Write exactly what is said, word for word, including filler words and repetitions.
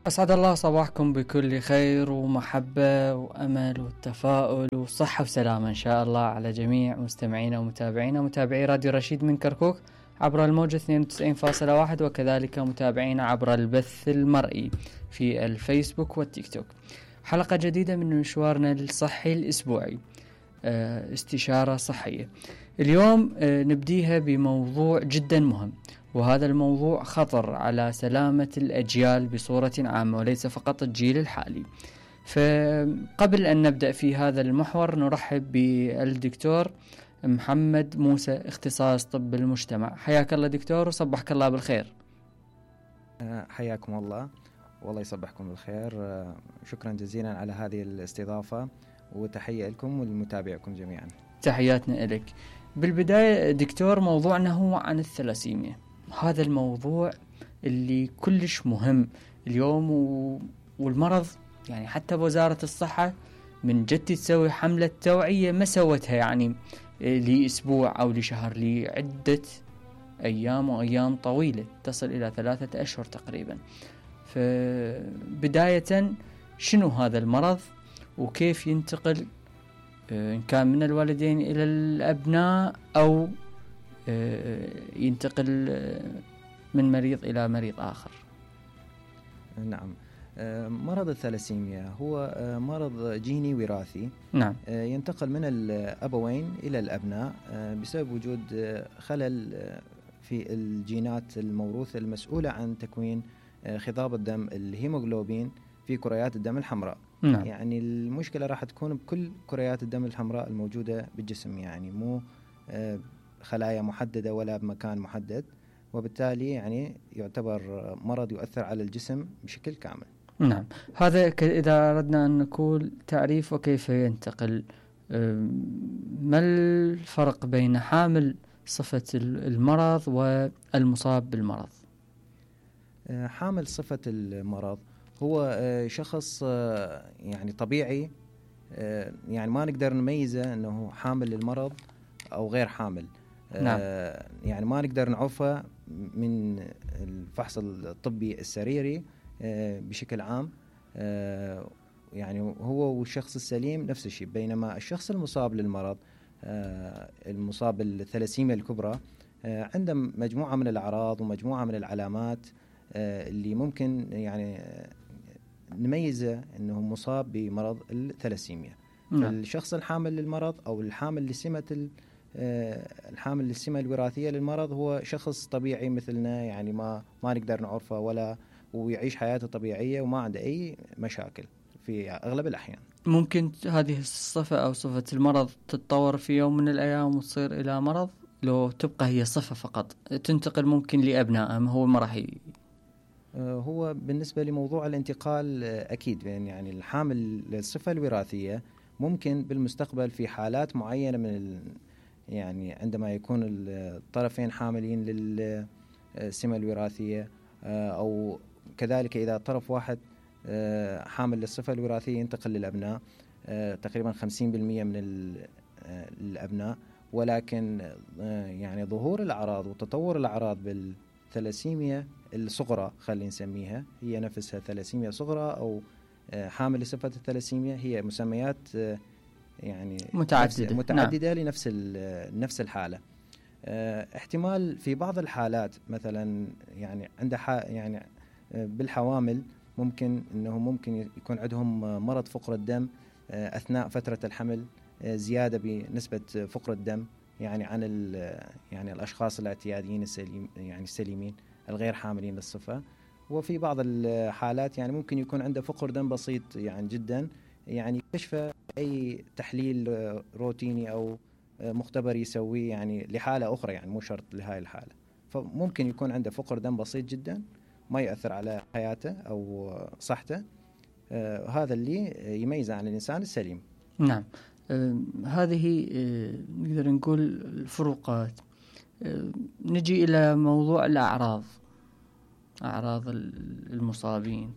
أسعد الله صباحكم بكل خير ومحبة وأمل والتفاؤل وصحة وسلامة إن شاء الله على جميع مستمعينا ومتابعينا ومتابعي راديو رشيد من كركوك عبر الموجة اثنين وتسعين فاصلة واحد، وكذلك متابعينا عبر البث المرئي في الفيسبوك والتيك توك. حلقة جديدة من مشوارنا الصحي الأسبوعي، استشارة صحية. اليوم نبديها بموضوع جدا مهم، وهذا الموضوع خطر على سلامة الأجيال بصورة عامة وليس فقط الجيل الحالي. فقبل أن نبدأ في هذا المحور نرحب بالدكتور محمد موسى، اختصاص طب المجتمع. حياك الله دكتور وصبحك الله بالخير. حياكم الله، والله يصبحكم بالخير. شكرا جزيلا على هذه الاستضافة، وتحية لكم ولمتابعكم جميعا. تحياتنا لك. بالبداية دكتور، موضوعنا هو عن الثلاسيميا. هذا الموضوع اللي كلش مهم اليوم و... والمرض يعني حتى بوزارة الصحة من جد تسوي حملة توعية ما سوتها يعني لأسبوع أو لشهر، لعدة أيام وأيام طويلة تصل إلى ثلاثة أشهر تقريبا. فبداية شنو هذا المرض وكيف ينتقل إن كان من الوالدين إلى الأبناء أو ينتقل من مريض إلى مريض آخر؟ نعم، مرض الثلاسيميا هو مرض جيني وراثي. نعم. ينتقل من الأبوين إلى الأبناء بسبب وجود خلل في الجينات الموروثة المسؤولة عن تكوين خضاب الدم الهيموغلوبين في كريات الدم الحمراء. نعم. يعني المشكلة راح تكون بكل كريات الدم الحمراء الموجودة بالجسم، يعني مو خلايا محددة ولا بمكان محدد، وبالتالي يعني يعتبر مرض يؤثر على الجسم بشكل كامل. نعم. هذا إذا أردنا أن نقول تعريف وكيف ينتقل. ما الفرق بين حامل صفة المرض والمصاب بالمرض؟ حامل صفة المرض هو شخص يعني طبيعي، يعني ما نقدر نميزه أنه حامل للمرض أو غير حامل. نعم. يعني ما نقدر نعرفه من الفحص الطبي السريري بشكل عام. يعني هو والشخص السليم نفس الشيء، بينما الشخص المصاب للمرض المصاب بالثلاسيميا الكبرى عنده مجموعة من الأعراض ومجموعة من العلامات اللي ممكن يعني نميزه أنه مصاب بمرض الثلاسيميا. نعم. الشخص الحامل للمرض أو الحامل لسمة الحامل للسمة الوراثية للمرض هو شخص طبيعي مثلنا، يعني ما ما نقدر نعرفه ولا ويعيش حياته طبيعية وما عنده أي مشاكل في أغلب الأحيان. ممكن هذه الصفة أو صفة المرض تتطور في يوم من الأيام وتصير إلى مرض، لو تبقى هي صفة فقط تنتقل ممكن لأبنائهم، هو ما راح ي... هو بالنسبة لموضوع الانتقال أكيد، يعني الحامل للصفة الوراثية ممكن بالمستقبل في حالات معينة من ال يعني عندما يكون الطرفين حاملين للسمة الوراثية، أو كذلك إذا طرف واحد حامل للصفة الوراثية ينتقل للأبناء تقريبا خمسين بالمئة من الأبناء. ولكن يعني ظهور الأعراض وتطور الأعراض بالثلاسيميا الصغرى خلينا نسميها، هي نفسها ثلاسيميا صغرى أو حامل لصفة الثلاسيميا، هي مسميات يعني متعددة, متعددة نعم. لنفس نفس الحالة. اه احتمال في بعض الحالات مثلا يعني عند يعني بالحوامل ممكن انه ممكن يكون عندهم مرض فقر الدم اه اثناء فترة الحمل، اه زيادة بنسبة فقر الدم يعني عن يعني الاشخاص الاعتياديين السليم يعني السليمين الغير حاملين للصفة. وفي بعض الحالات يعني ممكن يكون عنده فقر دم بسيط يعني جدا، يعني كشف أي تحليل روتيني أو مختبر يسويه يعني لحالة أخرى، يعني مو شرط لهاي الحالة، فممكن يكون عنده فقر دم بسيط جدا ما يؤثر على حياته أو صحته. آه هذا اللي يميزه عن الإنسان السليم. نعم. آه هذه آه نقدر نقول الفروقات. آه نجي إلى موضوع الأعراض، أعراض المصابين